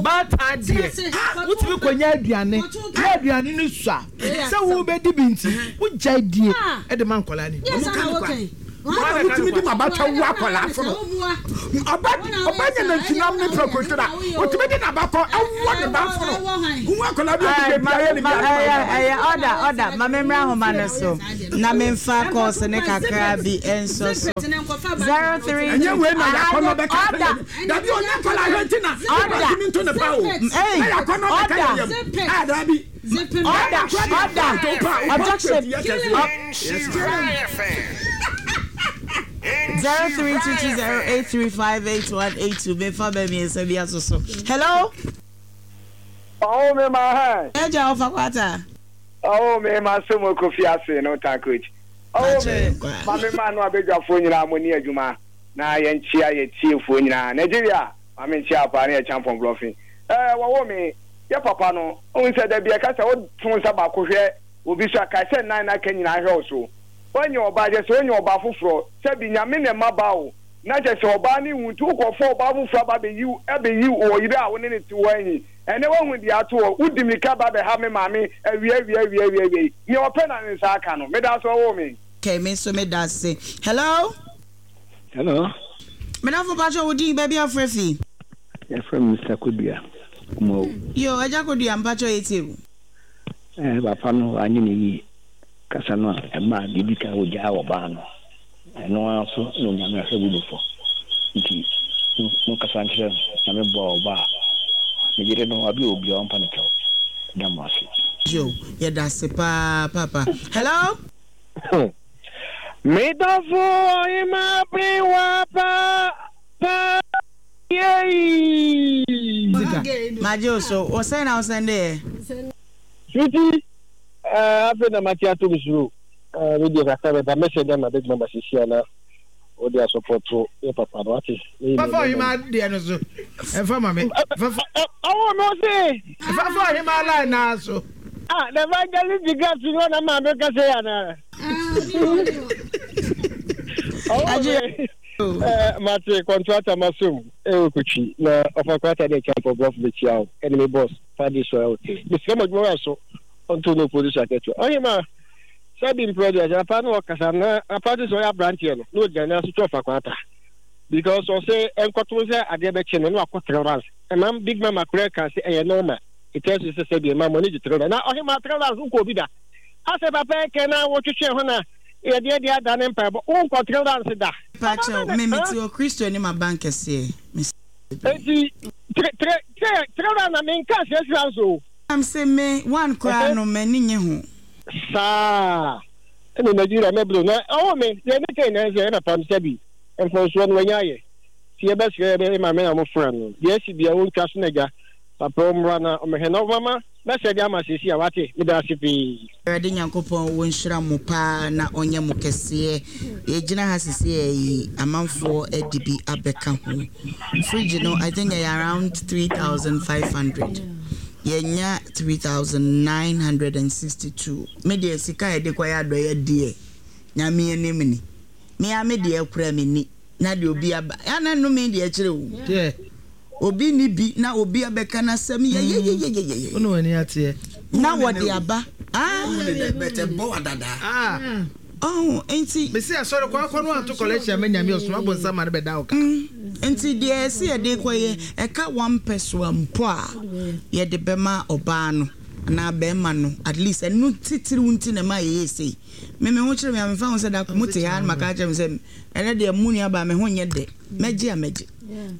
Baatan deɛ, wotumi kɔnya aduane na aduane no sua sɛ wobɛdi bi nti wogyae die ɛde ma nkɔlaa no. Ɔmo ka no kwa mɔna wotumi de ma bata wu akɔlaa fo no, ɔba ɔba nya nantwinam ne prɛkoto a wotumi de n'abakɔ ɛwɔ ne ba fo no hu akɔlaa bi a ɔde baabi ayɛ ne bi. Ɛyɛ ɛyɛ order, order. Ma me mmra ahoma no so na memfa calls ne kakra bi nso so. Zero three. Ɛnyɛ wei na yakɔnɔ bɛka. Order. Dabi, ɔnyɛ nkɔlaa hwɛ nti na Order. ɔtumi nto ne ba o. Hey, na yakɔnɔ bɛka yɛ yam a dabi. Order, order. Objection. Zero three two two zero eight three five eight one eight two. Mefa bɛ mmiɛnsa bi aso so. Hello. Ɔwɔ mi ma hɛn. Ɛgya ɔfa kwata. Ɔwɔ mi ma so mo kofi ase no ta coach. Ɔwɔ mi ma mi ma no abadwafoɔ nyinaa mo ni adwuma na yɛnkyia yɛ tiefoɔ nyinaa. Nigeria ma mi nkyia paa ne yɛ champion blɔfin. Ɛɛ wɔwɔ mi yɛ papa no ohun sɛ dabi ɛka sɛ woto nsa baako hwɛ obi so a kae sɛ nnan n'aka nyinaa hwɛ wo so. Wɔnyɛ ɔbaa kyɛ sɛ wɔnyɛ ɔbaa foforɔ sɛbi Nyame na ɛma ba o na kyɛ sɛ ɔbaa ne wu nti wokɔfɔ ɔbaa foforɔ aba abɛyi abɛyi wɔ yere a wo ne ne te hɔ ahi ɛnɛ woahu deɛ ato hɔ wodi mirika ba bɛha me maame awia awia awia awia awia yi nea ɔpɛ na ne nsa aka no meda so ɔwɔ me. Okay, me nso me da ase. Hello. Hello. Medafo, pakyɛ wo din, baabi afrɛ fi. Yɛfrɛ me Mister Kodua Kumawu. Yo, agya Kodua, mpakyɛ yɛ tie wo. Eh, papa no wanyɛ ne yie. Kasa no a ɛmaa deɛ edi kan wɔgyaa ɔbaa no. Ɛno ara nso na Onyame ahwɛ bu no fɔ. Nti monkasa nkyerɛ no, Nyame boa ɔbaa a, ne yere no wabi wɔ biara ɔmpa no kyɛw. Meda mo ase. Yo, yɛda ase paa paapa. Hello? Me dɔfo ɔhema berewa pa pa yei. Magye wo so. Wo sɛn na wo sɛnde yɛ? Sweetie, eh, afei na mate ato me suro. Eh, me deɛ kakra bɛba mɛsɛ de ama bɛdwuma ba sisi a na wode asɔpɔto yɛ papa no wate. Fafa ɔhema deɛ no so ɛfa ma me. Fafa. Ɔwɔ me ɔse. Fafa ɔhema line naa so. Ah, the evangelist di gas no na maa me kasa yi ana. Ɔwɔ me. Eh, mate kɔntrata masom ɛwɔ kotwi na ɔfa kwata de kyɛ mpɔbrɔfo bɛkyia wo ɛne me boss fadi so ɛwɔ te. Mesrɛ mo adwuma wɔ so ɔnto no opposition akɛkyɛ. Ɔhema sɛbi mprɛ deɛ sɛ apa no ɔkasa na apa te sɛ ɔyɛ aberanteɛ no na ɔgyina ne ase twɛ ɔfa kwata because ɔsɛ ɛnkɔto sɛ adeɛ bɛkye no na wakɔ three rounds ɛma big mama koraa ka sɛ ɛyɛ normal it tells you sɛ sɛbi ɛma mo ani gye three rounds na ɔhema three rounds wokɔ obi da asɛ papa ɛkɛ na wotwetwe ho na yɛdeɛ deɛ ada ne mpaebɔ wonkɔ three rounds da. Pakyɛw, me mete wɔ Kristo anim abankɛseɛ. Mesrɛ bebree. Enti three three three three rounds na menka six rounds o. Na mese me one koraa no m'ani nye ho. Saa ɛna Nigeria mɛblo na ɔwɔ me deɛ ne kɛn na ɛsɛ ɛna pam sɛbi mfɔnsoɔ no wanya ayɛ ti yɛbɛsrɛ yɛbɛ maame na wɔfra no deɛ ɛsi bia wɔntwa so na gya papa ɔmmra na ɔmɛhwɛ na ɔmama mɛsɛ de ama sɛsi a wate meda ase pii. Awurade Nyankopɔn ɔnhyira mo paa na ɔnyɛ mo kɛseɛ. Yɛgyina ha sesei yi amanfoɔ de bi abɛka ho. Fridge no I think ɛyɛ around three thousand five hundred. Yɛnya three thousand nine hundred and sixty two. Me deɛ sika a yɛde kɔyɛ adɔeɛ deɛ Nyame anim ni. Me ara me deɛ koraa menni na deɛ obi aba ana nnome deɛ kyerɛ o. Obi nni bi na obi abɛka n'asɛm yɛyɛyɛyɛyɛ. Wo na w'ani ateɛ. Na wɔde aba. Ah. Ah. Oh, nti. Mesi asɔre kɔ akɔ no anto collection ama Nyame ɔsoma bonsam ma no bɛda wo ka. Nti deɛ ɛsɛ yɛde kɔyɛ ɛka one pɛsoa mpo a yɛde bɛma ɔbaa no anaa bɛrima no at least ɛno titiriw nti na ɛma yɛyɛ sei. Me me ho kyerɛ me a memfa ho sɛ da ko mote ha na maka akyerɛ me sɛ ɛnɛ deɛ mo nuabaa me ho nyɛ dɛ mɛgye a mɛgye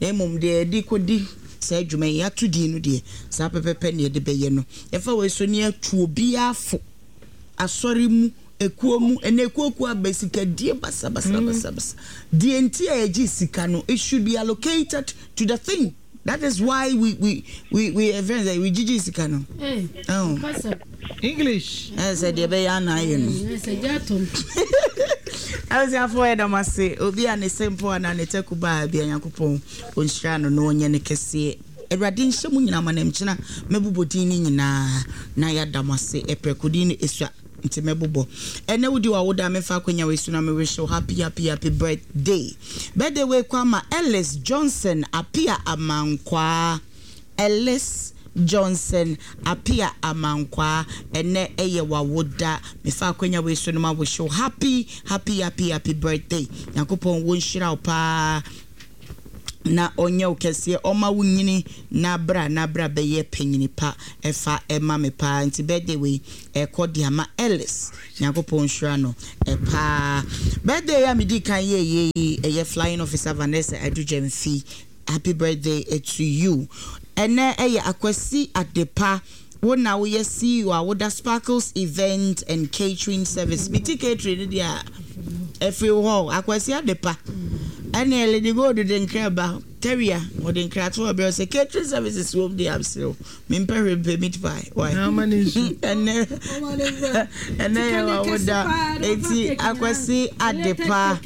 na mmom deɛ yɛde kɔdi saa adwuma yi yɛato din no deɛ saa pɛpɛpɛ na yɛde bɛyɛ no. Yɛfa wei so ne yɛatu obiara fo asɔre mu ekuo mu ɛnna ekuo kuo aba sikadie basabasabasabasa deɛ nti a yɛgye sika no it should be allocated to the thing that is why we we we we ɛfɛn sɛ we gyigyi sika no. Oh. English. Ɛsɛ sɛ deɛ ɛbɛyɛ ana ayɛ no. Abusuafoɔ yɛda mo ase obi a ne se mpo anaa ne taku baa bia Nyankopɔn ɔnhyira no na ɔnyɛ no kɛseɛ. Awurade nhyɛ mo nyinaa ma na mkyena mɛbobɔ din no nyinaa na yɛada mo ase ɛprɛko din no ɛsua nti mɛbobɔ. Ɛnɛ wodi w'awoda a memfa akwanya wei so na me wish wo happy happy happy birthday. Birthday wei kɔ ama Ellis Johnson Apia Amankwaa. Ellis Johnson Apia Amankwaa ɛnɛ ɛyɛ w'awoda mefa akwanya wei so no ma wish wo happy happy happy happy birthday. Nyankopɔn wɔnhyira wo paa na ɔnyɛ wo kɛseɛ ɔma wo nyini na bra na bra bɛyɛ panyini pa ɛfa ɛma me paa nti birthday wei ɛkɔ de ama Ellis Nyankopɔn nhyira no ɛpaa. Birthday a medi kan yɛyɛ yi ɛyɛ flying officer Vanessa Adu-Gyamfi happy birthday to you. Ɛnɛ ɛyɛ Akwasi Adepa wo na woyɛ C E O a woda Sparkles Event and Catering Service. Meti catering no deɛ a ɛfiri hɔ Akwasi Adepa ɛne Lady Gold de nkra ba Terrier wɔde nkrato ɔbrɛ sɛ catering services wɔ mu deɛ amserew mempɛ hwee mpɛ meat pie why ɛnɛ ɛnɛ yɛ wa woda eti Akwasi Adepa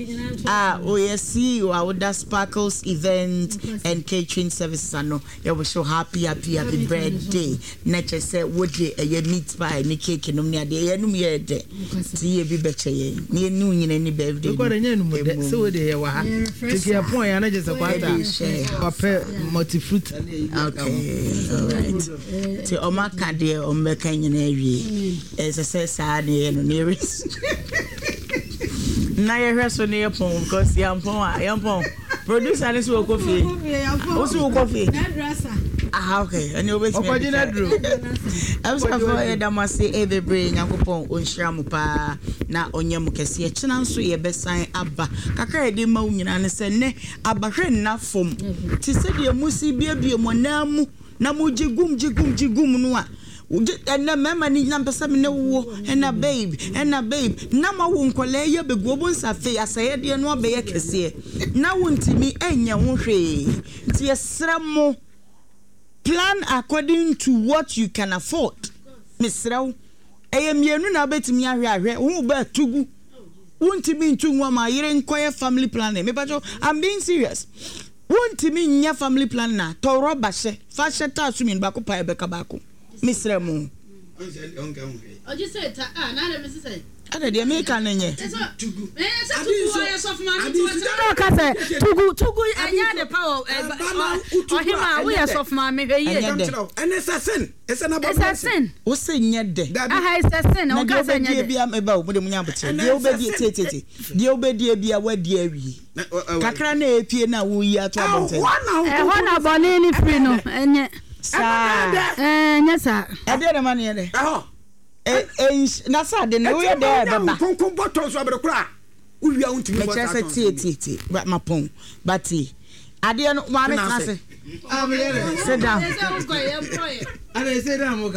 a woyɛ C E O a woda Sparkles Event and Catering Services ano yɛwɔ so happy happy happy birthday na kyerɛ sɛ wode ɛyɛ meat pie ne cake nom ne adeɛ yɛnum yɛ dɛ ti yɛ bi bɛkyɛ yɛn ne yɛne wo nyina ni birthday no ɛnyɛ num dɛ sɛ wode yɛ wɔ ha tiki yɛ pɔn yɛ anagye sɛ kwata wapɛ multifruit. Okay, all right. Ti ɔmo aka deɛ ɔmo bɛka nyina awie ɛsɛ sɛ saa ne yɛ no ne yɛrɛ na yɛhwɛ so ne yɛ pɔn because yɛn pɔn a yɛn pɔn producer ne so wɔ kɔ fie o so wɔ kɔ fie ah. Ah, okay. Ɛne wobɛtumi Ɔkɔgye no aduro. Abusuafoɔ, yɛda mo ase bebree. Nyankopɔn ɔnhyira mo paa na ɔnyɛ mo kɛseɛ. Kyena nso yɛbɛsan aba. Kakra a yɛde ma wo nyinaa ne sɛ nnɛ abahwɛ nna fam te sɛdeɛ musi biebie mo nan mu na mogye gum gye gum gye gum no a wogye. Ɛnɛ mmarima no nyina mpɛ sɛ me ne wo, ɛna babe, ɛna babe, na ma wo nkɔlaa yi abɛgu wɔn nsa. Afei asɛyɛdeɛ no abɛyɛ kɛseɛ na wontumi ɛnyɛ ho hwee, nti yɛsrɛ mo, plan according to what you can afford. Mesrɛ wo, ɛyɛ mmienu na wobɛtumi ahwɛ ahwɛ wo ba tugu, wontumi ntu ngu ama yere nkɔyɛ family planning. Mepakyɛw, I'm being serious. Wontumi nyɛ family planning a, tɔ rɔba hyɛ fa hyɛ taa so mmienu, baako pa ɛbɛka baako. Mesrɛ mo. Ɔgye sɛ ta a na adɛ mesi sɛ. Ɛna deɛ meka no nyɛ. Ɔka sɛ tugu tugu ɛnyɛ ade pa wɔ ɔhema a woyɛ sɔfo maame, hwɛ yie. Ɛnyɛ dɛ. Ɛne sɛ sin ɛsɛ na Ɛsɛ sin. Wo se nyɛ dɛ. Aha, ɛsɛ sin. Na Ɔka deɛ sɛ nyɛ wobɛdie dɛ. bia meba o, mode mo nya abokyerɛ. Deɛ wobɛdie, tietietie, deɛ wobɛdie bia wadi awie kakra na ɛpie na woyi ato abɔnten. Ɛhɔ na bɔne ne firi no, ɛnyɛ saa. Ɛnyɛ saa. Ɛdeɛ na ma no yɛ dɛ. Ɛhɔ. Ɛ- ɛnhy- na sɛ ade no woyɛ dɛ ɛbɛba. Nkonko bɔtɔ nso abere kora a wowia, wontumi bɔ mekyerɛ saa sɛ tɔn. tie tie tie, ba- mapɔn ba tie adeɛ no, maame tena ase, sit down.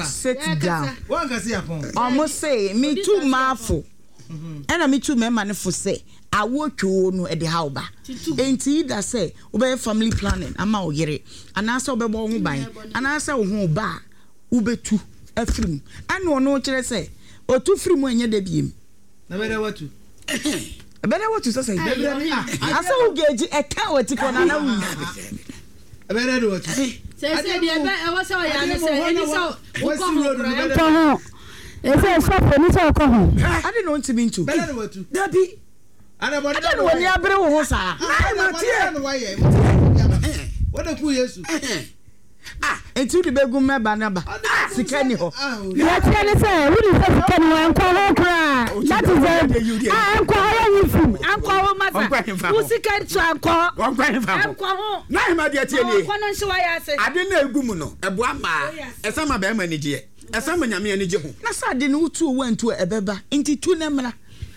Sit down. Ɔmo se metu mmaafo ɛna metu mmarima no fo sɛ awoɔ twoo no ɛde ha wo ba, enti yi da sɛ wobɛyɛ family planning ama wo yere anaasɛ wobɛbɔ wo ho ban anaasɛ wo ho ba a wobɛtu afiri mu, ɛna ɔno kyerɛ sɛ ɔtu firi mu, ɛnyɛ da biem. Na bɛdɛ watu. Ɛbɛdɛ watu sɛ sɛ asɛ wo geegye ɛka wɔ ti kɔ nana wo. Ɛbɛdɛ de watu. Sɛ sɛ deɛ ɛbɛ ɛwɔ sɛ ɔyɛ ane sɛ ɛni sɛ wokɔ ho koraa ɛnkɔ ho, ɛsɛ sɔfo ɛni sɛ wokɔ ho. Ade na ɔntumi ntu. Bɛdɛ de watu. Dabi. Ade na w'ani abere wo ho saa. Wɔde ku Yesu. Nti wode bɛgu mmɛba no ba, sika ni hɔ. Yɛteɛ ne sɛ wode sɛ sika ni hɔ, ɛnkɔ ho koraa. That is the ah, ɛnkɔ hɔ, yɛ nyi fim, ɛnkɔ ho masa, wo sika nso ɛnkɔ hɔ. Wɔnkɔ hefa ho? Ɛnkɔ ho. Na ahema deɛ, tie nie. Ɔkɔ no nhyɛ wayɛ ase. Ade na egu mu no ɛboa mmaa, ɛsan ma bɛrima ani gyeɛ, ɛsan ma Nyame ani gye ho. Na sɛ ade no wotu owu antu a ɛbɛba, nti tu ne mmra.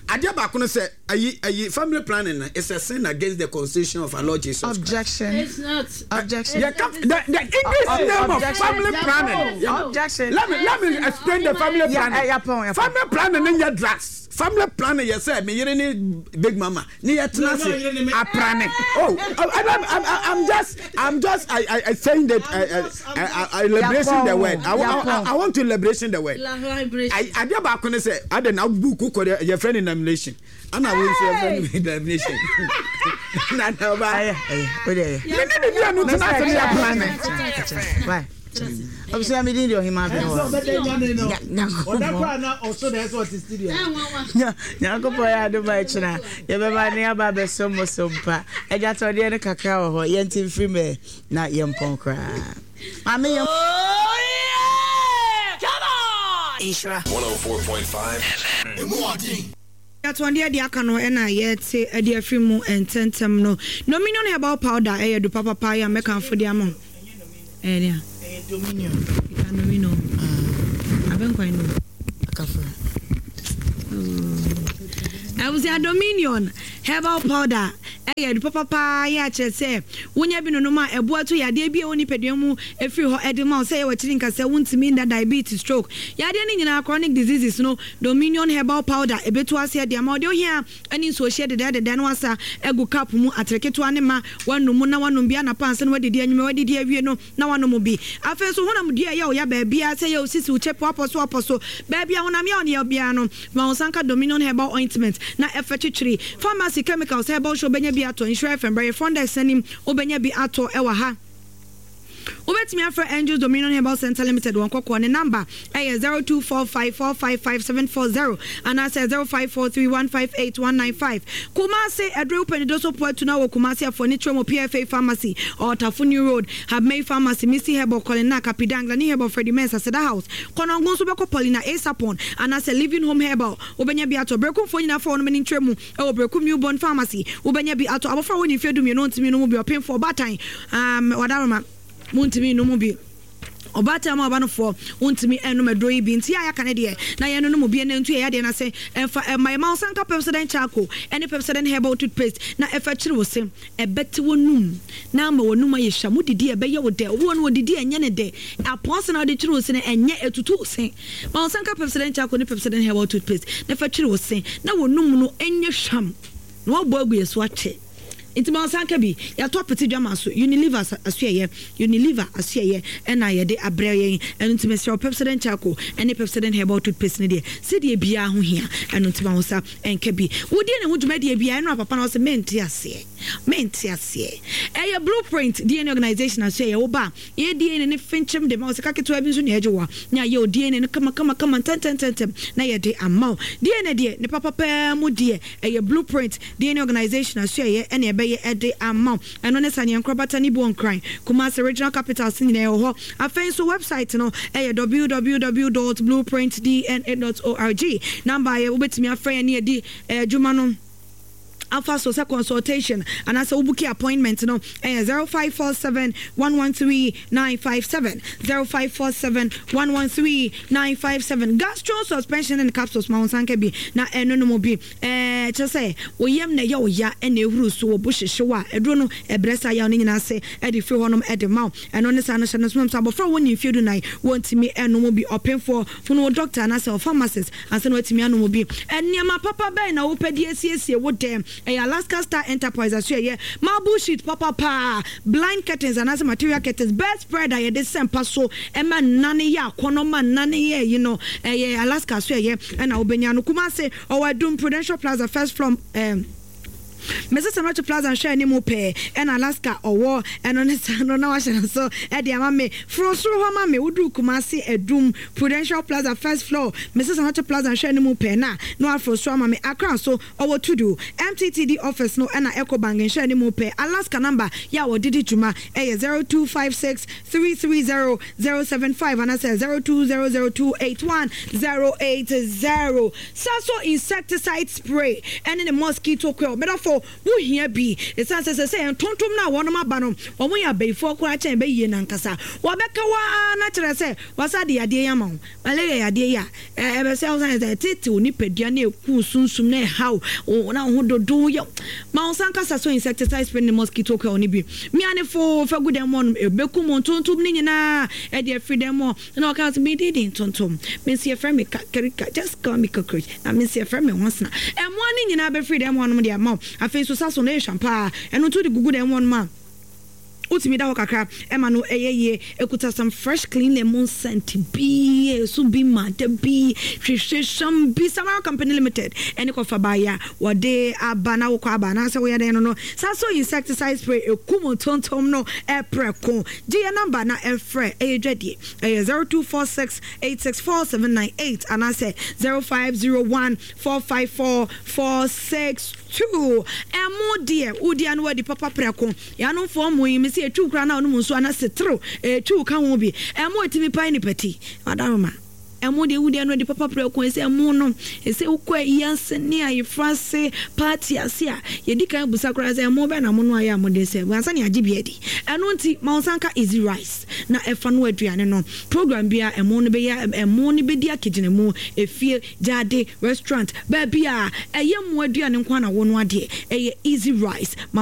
Adeɛ baako no sɛ ayi ayi family planning no is a sin against the constitution of our Lord Jesus Christ. Objection. It's not. Objection. Yeah, come, the, the English Oh, name of objection. family planning. Objection. Let me let me explain the family Yeah, planning. eh, yeah, pɔn, yeah, pɔn. Family planning ne nyɛ drugs. Family planning yɛ sɛ me yere ne big mama ne yɛ tena No, no, yere ne me. ase aprane. Oh, I, I, I'm, I'm just I'm just I I, I saying that I I, I, I liberation the word. I, I, I, I want to liberation the word. I adeɛ baako ne sɛ ade na book kɔ de yɛfrɛ no nomination, ana wo nso yɛfrɛ no nomination na na ɔba ɛyɛ ɛyɛ o de ɛyɛ. me ne ne mmienu tena ase ne yɛ planning. Why? Abusua, mi din de Ɔhema Abene wɔ. Ɔbɛdɛ nyane no. Nyankopɔn. Ɔda koraa na ɔso na ɛsɛ ɔte studio. Nyankopɔn yɛ adom a, ɛkyena yɛbɛba ne aba abɛsom mo so mpa. Agyatɔdeɛ no kakra wɔ hɔ, yɛnte mfiri mɛ na yɛmpɔn koraa. Maame yɛn. Nhyira one oh four point five Atɔndeɛ deɛ aka no ɛna yɛte de afiri mu ntɛntɛm no. Dominion Herbal Powder ɛyɛ du papapa yɛ a mɛkamfo de ama wo. Ɛyɛ dea. Ɛyɛ Dominion. Ika Dominion. Abɛnkwan no. Akafra. Abusua, Dominion Herbal Powder ɛyɛ du papapa yɛ akyerɛ sɛ wonya bi nonom a, ɛboa to yadeɛ bi a ɛwɔ nipadua mu ɛfiri hɔ ɛde ma wo, sɛ ɛyɛ w'akyiri nkasɛ, wontumi nda, diabetes, stroke, yadeɛ no nyinaa, chronic diseases no, Dominion Herbal Powder ɛbɛtu aseɛ de ama wo. Deɛ ohia ɛne nsuohyɛ dedɛɛdedɛ na wasa agu cup mu atere ketewa ne ma wanom mu na wanom bi anapa ansa na wadidi, anwummerɛ wadidi awie no na wanom bi. Afei nso honam dua ɛyɛ wo ya baabiara, sɛ ɛyɛ wo sisi, wo kyɛ, wapɔ so wapɔ so baabi a honam yɛ wo ne yɛ biara no, ma wo nsa nka Dominion Herbal Ointment na ɛfɛ twitwiri. Pharmacy, chemicals, herbal shop wobɛnya bi atɔ. Nhyira F M brɛ yɛ front desk anim, wobɛnya bi atɔ ɛwɔ ha. Wobɛtumi afrɛ Angels Dominion Herbal Center Limited wɔn kɔkɔɔ ne number ɛyɛ zero two four five four five five seven four zero anaasɛ zero five four three one five eight one nine five. Kumase ɛdure wopɛ ne doso po atu na wɔ Kumase afɔ ne kyerɛ mu P F A Pharmacy, Ɔtafo New Road, Habmei Pharmacy, Misty Herbal, Colina Kapidang, Lani Herbal, Freddie Mens, Aseda House, Kɔnɔngo nso bɛkɔ Paulina Asapon anaasɛ Living Home Herbal, wobɛnya bi atɔ. Berekumfoɔ nyinaa fa wɔn ani nkyerɛ mu ɛwɔ Berekum New Born Pharmacy, wobɛnya bi atɔ. Abɔfra a wɔne mfeɛ dumienu ntumi no mu bi, ɔpemfoɔ, ɔbaatan, um, wadaroma muntumi no mu bi. Ɔbaatan mu abanofoɔ wontumi nnom aduro yi bi nti a yɛaka ne deɛ na yɛnonom obi ɛna ntu yɛ yadeɛ no ase ɛmfa ɛma yɛ ma wo sanka Pepsodent charcoal ɛne Pepsodent herbal toothpaste na ɛfa kyiri wo se ɛbɛte w'anum na ama w'anum ayɛ hwam wodidi a ɛbɛyɛ wo dɛ obi wɔ no wɔdidi a ɛnyɛ ne dɛ apɔnse na wode kyiri wo se no ɛnyɛ ɛtutu wo se ma wo sanka Pepsodent charcoal ne Pepsodent herbal toothpaste na ɛfa kyiri wo se na w'anum no ɛnyɛ hwam na wɔabɔ agu yɛ so akyɛ. Nti ma ɔnsan ka bi. Yɛatɔ apete dwama so, Unilever asoɛeɛ, Unilever asoɛeɛ ɛna yɛde abrɛ yɛn. Ɛno nti mesrɛ wo Pepsodent Charcoal ɛne Pepsodent Herbal Toothpaste no deɛ, sɛdeɛ biara ho hia. Ɛno nti ma wo nsa nka bi. Wodie ne ho dwumadie biara, ɛno a papa no ɔse mente aseɛ, mente aseɛ. Ɛyɛ Blueprint D N A Organization asoɛeɛ. Wo ba a, yɛyɛ D N A no finkyim de ma wo. Sika ketewa bi nso na yɛgye wo a, na yɛayɛ wo D N A no kama kama kama ntɛntɛntɛntɛm na yɛde ama wo. D N A deɛ, ne papa paa mu deɛ, ɛyɛ Blueprint D N A Organization asoɛeɛ na ɛbɛyɛ de ama wo. Ɛno ne Sane Nkorabata ne Buo Nkran, Kumasi Regional Capitals nyinaa ɛwɔ hɔ. Afei nso website no yɛ www dot blueprint D N A dot org. Number a wobɛtumi afrɛ yɛn ne adi adwuma no afa so sɛ consultation anaasɛ wo booki appointment no ɛyɛ zero five four seven one one three nine five seven, zero five four seven one one three nine five seven. Gastro suspension and capsules ma wo nsa nka bi na ɛno no mu bi. Ɛɛ kyerɛ sɛ wo yam na ɛyɛ wo ya na ehuru so wo bo hyehye wo a, aduro no ɛbrɛ saa yaw no nyinaa ase de firi hɔnom de ma wo. Ɛno ne saa no hyɛ no nso sɛ abɔfra a wɔnni mfeɛ dunan wɔntumi nnom bi. Ɔpemfoɔ, hunu wo dɔkta anaasɛ wo pharmacist ansa na woatumi anom bi. Nneɛma papa bɛn na wopɛ de asiesie wo dan? Ɛyɛ Alaska Star Enterprise asoɛeɛ marble sheet papa paa, blind curtains anaasɛ material curtains, bed spread a yɛde sɛ mpa so ma nna no yɛ akɔnnɔ ma nna no yɛ ayi no, ɛyɛ Alaska asoɛeɛ na wobɛnya no. Kumasi, ɔwɔ Adum Prudential Plaza first floor, ɛɛ Mrs. Sanochi Plaza nhwɛ anim pɛɛ ɛna Alaska ɔwɔ ɛno ne saa no na wahyɛ no so ɛde ama me. Foro soro hɔ ma me, woduru Kumasi Adum Prudential Plaza first floor, Mrs. Sanochi Plaza nhwɛ anim pɛɛ na na waforo soro ama me. Accra nso ɔwɔ Tudu M T T D office no ɛna Ecobank nhwɛ anim pɛɛ. Alaska number yɛ a wɔde di dwuma ɛyɛ zero two five six three three zero zero seven five anaasɛ zero two zero zero two eight one zero eight zero. Saso insecticide spray ɛne ne mosquito coil, medɔfo wo hia bi esiane sɛ sɛsɛɛ ntontom no a wɔnom aba no wɔn yɛ abayifoɔ koraa kyɛn bayie no ankasa. Wɔbɛka wo ara na kyerɛ sɛ wɔasa de yadeɛ yi ama wo. Malaria yadeɛ yi a ɛbɛsɛe wo sane sɛ ɛtetew nipadua na ɛku sunsum na ɛhaw wo na wo ho dodo yɛ wo. Ma wo nsa nka Saso insecticide spray ne mosquito coil no bi. Mia no foo fa gu dan mu hɔnom. Ɛbɛkum ntontom no nyinaa de afiri dan mu hɔ. Na ɔka sɛ, Me din de ntontom. Me nso yɛfrɛ me kakarika. Just call me cockroach. Na me nso yɛfrɛ me nwansena. Mmoa no nyinaa bɛfiri dan mu hɔnom de ama wo. Afei nso Saso no yɛ hwam paa. Ɛno nso wode gugu dan mu hɔnom a, wotumi da hɔ kakra ma no yɛ yie. Ɛkuta some fresh clean lemon scent bi, ɛso bi ma da bi, hwehwɛ hwam bi. Samara Company Limited ɛne kɔfa baeɛ a wɔde aba na wokɔ aba anaasɛ woyɛ dɛn no no. Saso insecticide spray ɛkum ntontom no prɛko. Gye yɛn number na frɛ, ɛyɛ dwadie. Ɛyɛ zero two four six eight six four seven nine eight anaasɛ zero five zero one four five four four six two. Ɛmo deɛ wodi a na wadi papa prɛko. Yɛanomfoɔ mo yi mese ɛtwiw koraa na wonom nsuo anaa seterew ɛtwiw ka ho bi. Ɛmo ɛtumi pae nipa ti. Madaroma. Ɛmo deɛ wodi a na wadi papa prɛko. Ɛsɛ ɛmo no ɛsɛ wokɔ ayi ase ne ayeforo ase party ase a yɛdi kan busa koraa sɛ ɛmo bɛn na monoa yɛ a mode sɛ ansa na yɛagye bi adi. Ɛno nti ma wo nsa nka easy rice na ɛfa noa aduane no. Program biara ɛmo no bɛyɛ ɛmo no bɛdi akegyinamu efie, gyaade, restaurant, baabi a ɛyɛ mmoa aduane nko ara na wonoa deɛ ɛyɛ easy rice. Ma wo.